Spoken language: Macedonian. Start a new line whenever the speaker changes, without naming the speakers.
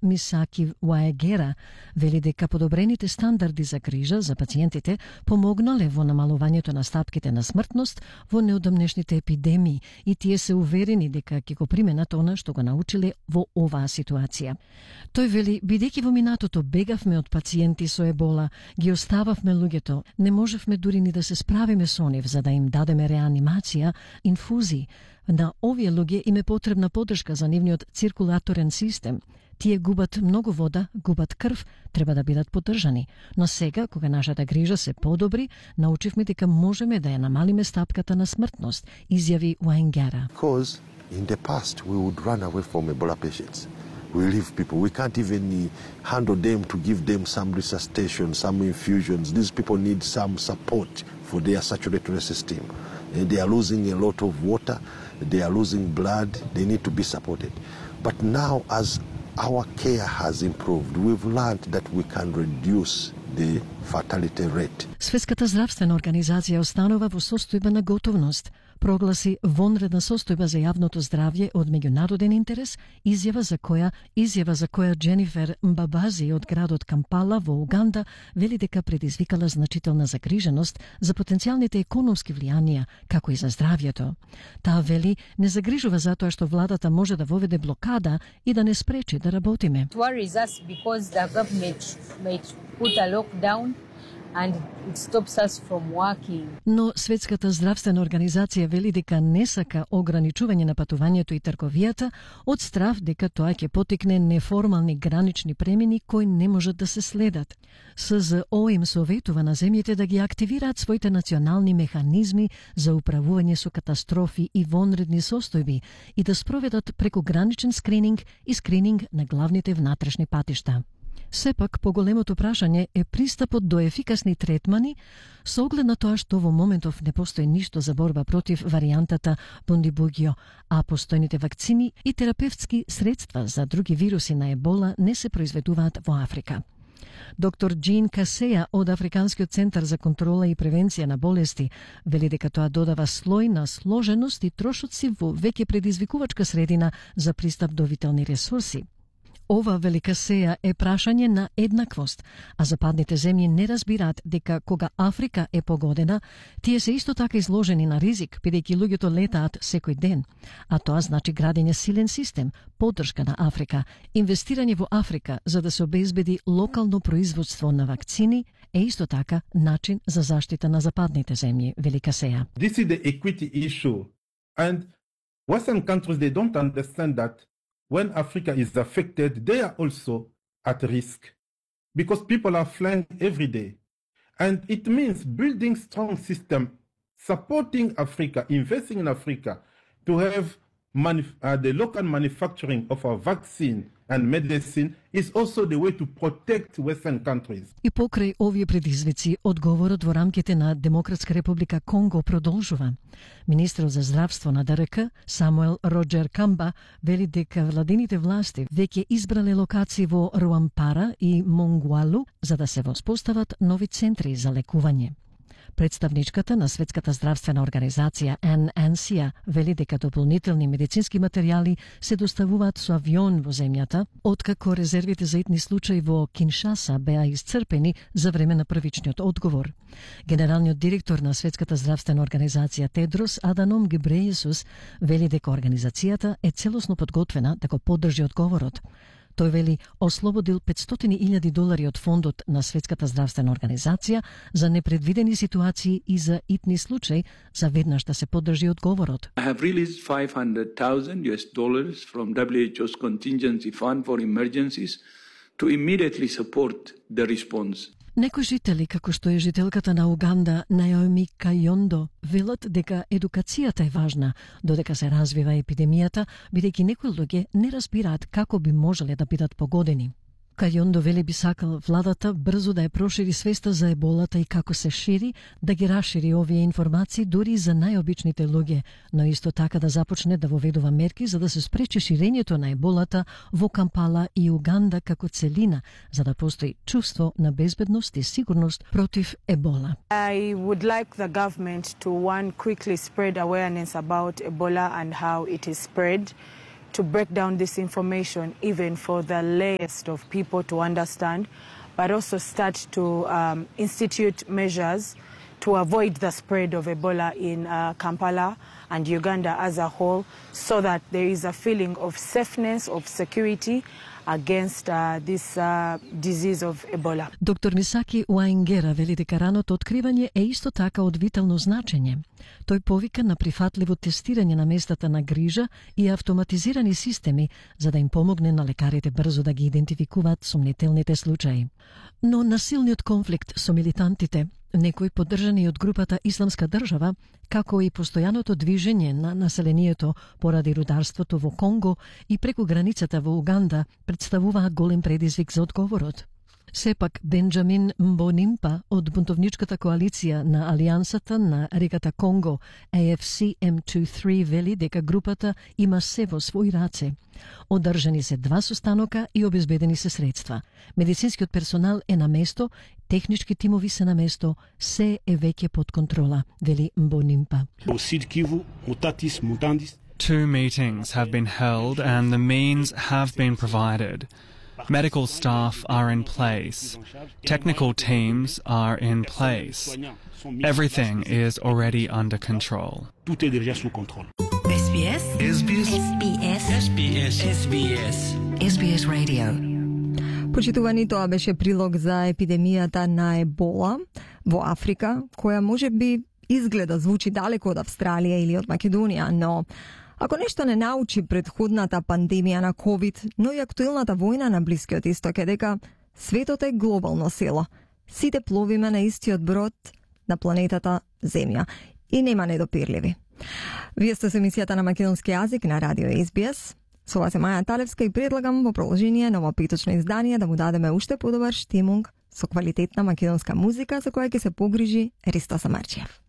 Мисаки Уаегера вели дека подобрените стандарди за грижа за пациентите помогнале во намалувањето на стапките на смртност во неодамнешните епидемии и тие се уверени дека ќе го применат она што го научиле во оваа ситуација. Тој вели, бидејќи во минатото бегавме од пациенти со ебола, ги остававме луѓето, не можевме дури ни да се справиме со нив за да им дадеме реанимација, инфузии. На овие луѓе им е потребна поддршка за нивниот циркулаторен систем. Тие губат многу вода, губат крв, треба да бидат поддржани. Но сега, кога нашата грижа се подобри, научивме дека можеме да ја намалиме стапката на смртност, изјави Уаенгера.
Because in the past we would run away from Ebola patients. We leave people. We can't even handle them to give them some resuscitation, some infusions. These people need some support for their circulatory system. And they are losing a lot of water. They are losing blood. They need to be supported. But now, as our care has improved, we've learned that we can reduce the fatality rate.
Светската здравствена организација останува во состојба на готовност, прогласи вонредна состојба за јавното здравје од меѓународен интерес, изјава за која Дженифер Мбабази од градот Кампала во Уганда вели дека предизвикала значителна загриженост за потенцијалните економски влијанија, како и за здравјето. Таа вели не загрижува затоа што владата може да воведе блокада и да не спречи да работиме.
It worries us because the government might put a lockdown and it stops us from working.
Но Светската здравствена организација вели дека не сака ограничување на патувањето и трговијата од страв дека тоа ќе потикне неформални гранични премини кои не можат да се следат. СЗО им советува на земјите да ги активираат своите национални механизми за управување со катастрофи и вонредни состојби и да спроведат прекограничен скрининг и скрининг на главните внатрешни патишта. Сепак, поголемото прашање е пристапот до ефикасни третмани со оглед на тоа што во моментов не постои ништо за борба против варијантата Бундибугио, а постојните вакцини и терапевтски средства за други вируси на ебола не се произведуваат во Африка. Доктор Джин Касеја од Африканскиот центар за контрола и превенција на болести вели дека тоа додава слој на сложеност и трошоци во веќе предизвикувачка средина за пристап до витални ресурси. Ова велика сеја е прашање на еднаквост, а западните земји не разбираат дека кога Африка е погодена, тие се исто така изложени на ризик, бидејќи луѓето летаат секој ден. А тоа значи градење силен систем, поддршка на Африка, инвестирање во Африка за да се обезбеди локално производство на вакцини е исто така начин за заштита на западните земји, велика сеја.
This is the equity issue, and Western countries they don't understand that when Africa is affected, they are also at risk because people are flying every day. And it means building strong system, supporting Africa, investing in Africa to have the local manufacturing of our vaccine and medicine is also the way to protect Western countries.
И покрај овие предизвици, одговорот во рамките на Демократска република Конго продолжува. Министерот за здравство на ДРК, Самуел Роджер Камба, вели дека владините власти веќе избрале локации во Руампара и Монгуалу за да се воспостават нови центри за лекување. Представничката на Светската здравствена организација ННС вели дека дополнителни медицински материјали се доставуваат со авион во земјата, откако резервите за итни случаи во Киншаса беа исцрпени за време на првичниот одговор. Генералниот директор на Светската здравствена организација Тедрос Аданом Гебрејесус вели дека организацијата е целосно подготвена да го поддржи одговорот. Тој вели ослободил $500,000 од фондот на Светската здравствена организација за непредвидени ситуации и за итни случаи за веднаш да се поддржи одговорот.
I have released $500,000 from WHO's contingency fund for emergencies to immediately support the response.
Некои жители, како што е жителката на Уганда, Наоми Кајондо, велат дека едукацијата е важна, додека се развива епидемијата, бидејќи некои луѓе не разбираат како би можеле да бидат погодени. Кајондо вели би сакал владата брзо да ја прошири свеста за еболата и како се шири, да ги расшири овие информации дури за најобичните луѓе, но исто така да започне да воведува мерки за да се спречи ширењето на еболата во Кампала и Уганда како целина, за да постои чувство на безбедност и сигурност против ебола.
I would like the government to quickly spread awareness about Ebola and how it is spread. to break down this information even for the layest of people to understand, but also start to institute measures to avoid the spread of Ebola in Kampala and Uganda as a whole, so that there is a feeling of safeness, of security against this disease of Ebola.
Доктор Мисаки Уаингера вели дека раното откривање е исто така од витално значење. Тој повика на прифатливо тестирање на местата на грижа и автоматизирани системи за да им помогне на лекарите брзо да ги идентификуваат сумнителните случаи. Но насилниот конфликт со милитантите, некои поддржани од групата Исламска држава, како и постојаното движење на населението поради рударството во Конго и преку границата во Уганда, представуваат голем предизвик за одговорот. Сепак, Бенџамин Мбонимпа од бунтовничката коалиција на Алијансата на реката Конго, AFC M23, вели дека групата има се во своји раце. Одржани се 2 состанока и обезбедени се средства. Медицинскиот персонал е на место, технички тимови се на место, се е веќе под контрола, вели Мбонимпа.
2 meetings have been held and the means have been provided. Medical staff are in place. Technical teams are in place. Everything is already under control.
SBS SBS SBS SBS SBS SBS Radio.
Почитувани, тоа беше прилог за епидемијата на Ебола во Африка, која може би изгледа звучи далеко од Австралија или од Македонија, но ако нешто не научи предходната пандемија на COVID, но и актуелната војна на Блискиот Исток е дека светот е глобално село. Сите пловиме на истиот брод на планетата Земја и нема недопирливи. Вие сте со емисијата на македонски јазик на радио SBS. Со вас е Маја Талевска и предлагам во продолжение на ова петочно издание да му дадеме уште подобар штимунг со квалитетна македонска музика за која ќе се погрижи Ристо Самарчиев.